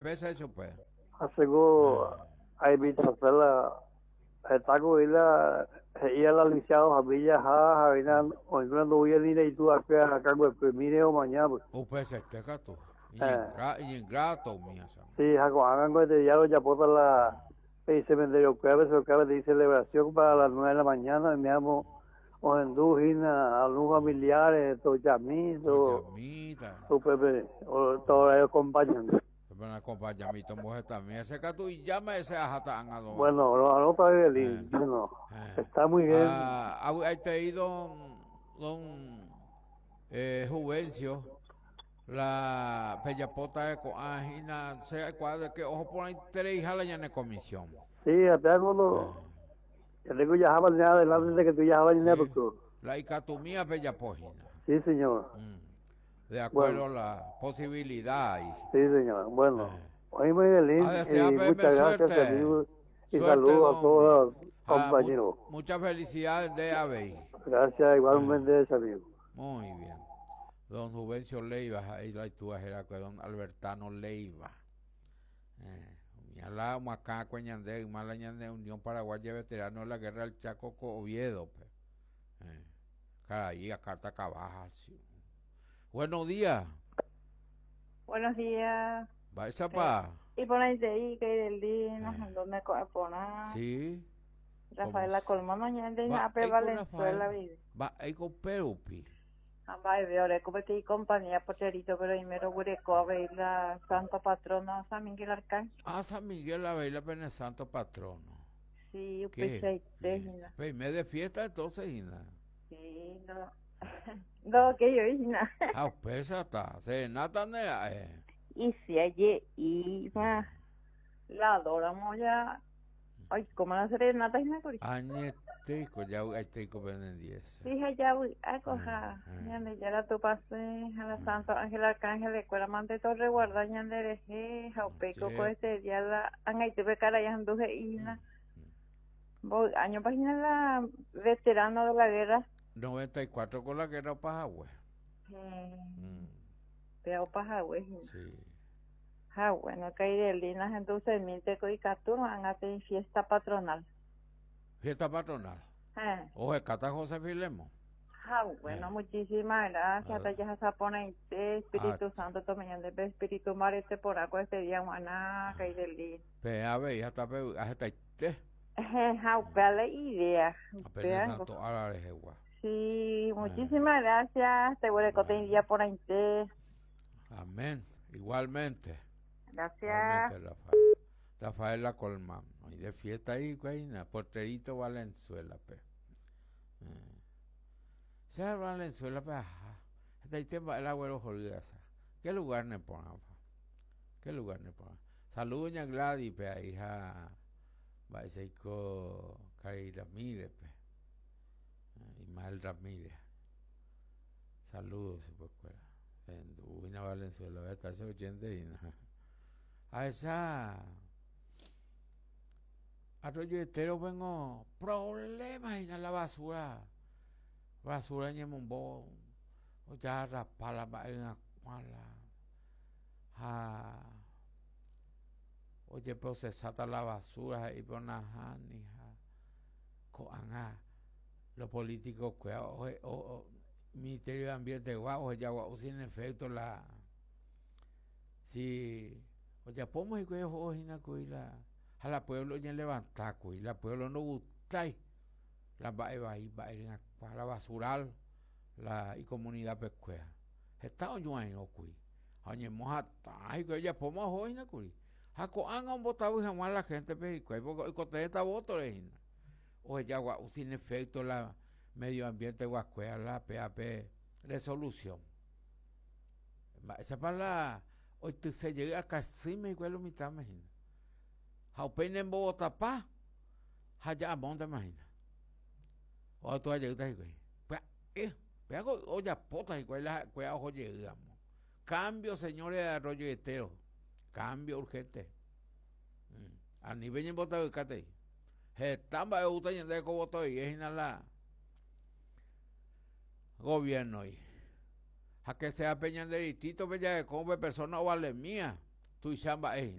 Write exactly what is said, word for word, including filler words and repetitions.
Pesa chupe. Hace a invitación está con la ella la licenciado Jamilla ja Javina hoy no voy a ir y tú acá acá pues mire o mañana pues. Upese este gato. Ingrato mía. Sí, hago de ya lo ya por la el cementerio jueves o cada de celebración para las nueve de la mañana me llamo o en Dujina, a familiares, toyamito, Pepe, o todos ellos acompañan. Acompañamiento mujer también ese gato y llama ese ajata. Bueno, lo anota Evelyn. Eh, bueno, eh. está muy bien. Ah, ahí te don don eh, Juvencio la pellapota de coajina sea cuadro que ojo por ahí tres hijas la ñane comisión. Sí, apenas lo ya tengo ya ya adelante de que tú ya ya sí. La icatumía pellapojina. Sí, señor. Mm. De acuerdo a la posibilidad. Y... Sí, señor. Bueno, eh. hoy muy feliz y muchas gracias, amigo, y saludos a todos los compañeros. Ah, muchas felicidades de Abey. Gracias, igualmente, eh. amigo. Muy bien. Don Juvencio Leiva, ahí la era don Albertano Leiva. Eh, la Macá, Cueñandé, Mala Unión Paraguaya Veterano de la Guerra del Chaco Oviedo. Pe. Eh, ahí acá está cabaja. Sí. Buenos días. Buenos días. Va pa. Y por ahí de que del día nos mandó me pona. Sí. Rafael la Colmano ñande ape Valenzuela vive. Va ahí con Perupi. Amba de ore como te compañía poterito pero primero gureco a ver la Santa Patrona San Miguel Arcángel. Ah, San Miguel a ver la pena Santo Patrono. Sí, pues Pues me de fiesta entonces, Ina. Sí, no. No, que yo Ina. Ah, pues está. Serenata nera, eh. Y si allí iba la adoramos ya. Ay, ¿cómo la serenata es una Añetico, ya hay diez. Sí, ya voy a coja. Ñande ya la tu pase a la Santo Ángel Arcángel de Cuera Mante Torre Guarda ñande reje, jaupeco co este día la anga tuve cara ya anduje ina. Voy año página la veterano de la guerra. noventa y cuatro con la guerra Pajagüe. Mm. Pero Pajagüe. Sí. Ah, bueno, que hay de linas entonces mil teco y caturno han en fiesta patronal. Fiesta patronal. Eh. Oye, Cata José Filemo. Ah, bueno, eh. muchísimas gracias. Hasta ya se pone Espíritu ah. Santo, tomen de Espíritu Marete por agua este día, Juana, que hay de lin. Pe, a ver, hasta pe, hasta este. Ja, la idea. Santo, ahora Sí, muchísimas gracias. Te voy a contar día por ahí. Amén. Igualmente. Gracias. Igualmente, Rafael. Rafael La Colma. Hay de fiesta ahí, güey, Porterito Valenzuela, pe. Eh. Sea Valenzuela, pe. Ajá. Hasta ahí tema el abuelo Jolgasa. ¿Qué lugar ne pone? ¿Qué lugar ne pone? Saludos, doña Gladys, pe, hija. Baiseiko Cari Ramírez, pe. Ismael Ramírez. Saludos, pues, en Uina Valenzuela, está ese oyente y a esa Arroyo Estero vengo problemas en la basura. Basura en el o ya rapala en la ja oye procesata la basura y pon ja coanga los políticos que o, o, Ministerio de Ambiente guau o ya guau sin efecto la si o ya podemos y que la a la pueblo ya levanta y la pueblo no gusta la va va va la basural la y comunidad pescuera está oño cui oñe moja ay que ya podemos hoy na cui a han un botado y jamás la gente pe y porque esta voto o ya guau sin efecto la medio ambiente guascuea la P A P resolución esa para la hoy se llega casi me igual mitad imagina Jaupeine en Bogotá pa allá monte imagina o tú allá está güey pues eh o ya pota igual la cuea ojo llegamos cambio señores de Arroyo Estero cambio urgente mm. A nivel en Bogotá cate estamba de gusta de como y es la gobierno y a que sea Peña de distrito Bella de Combe persona o vale mía Tuicha mba'e.